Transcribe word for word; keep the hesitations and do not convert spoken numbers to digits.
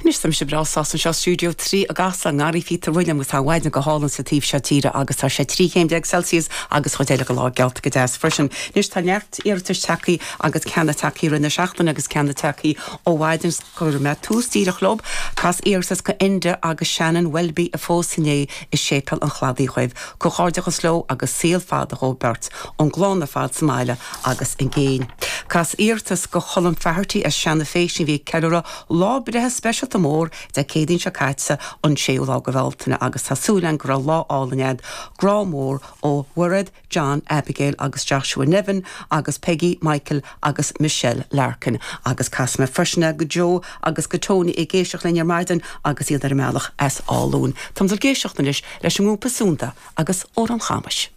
Anois tá mise breá sásta anseo Studio trí i gCasla i nGarraí Phíotair William agus tá an mhaidin go hálainn sa taobh seo tíre agus tá sé trí chéim déag Celsius agus chuid eile den lá geallta go deas freisin. Anois tá neart iarratais tagtha agus ceanna tagtha i rith na seachtaine agus ceanna tagtha ó mhaidin cuirfidh mé tús díreach leo cas iarratas go Enda agus Shannon Welby a phós inné i Séipéal an Chladaigh Dhuibh. Comhghairdeachas leo agus saol fada dhóibh beirt ón gclann ar fad sa mbaile agus i gcéin. Cas iarratas go Colm Faherty as Seanadh Féisín bhí ceiliúradh lá breithe speisialta mór Dé Céadaoin seo caite an séú lá de Bhealtaine agus tá súil againn go raibh lá álainn agat grá mór ó Mhairéad, John, Abigail agus Joshua Nevin agus Peggy, Michael agus Michelle Larkin agus casfaidh mé freisin go Joe agus go Tony ag éisteacht linn ar maidin agus iad ar a mbealach as Áth Luain. Táim ag éisteacht anois leis an ngrúpa Sunda agus Amhrán Chamais.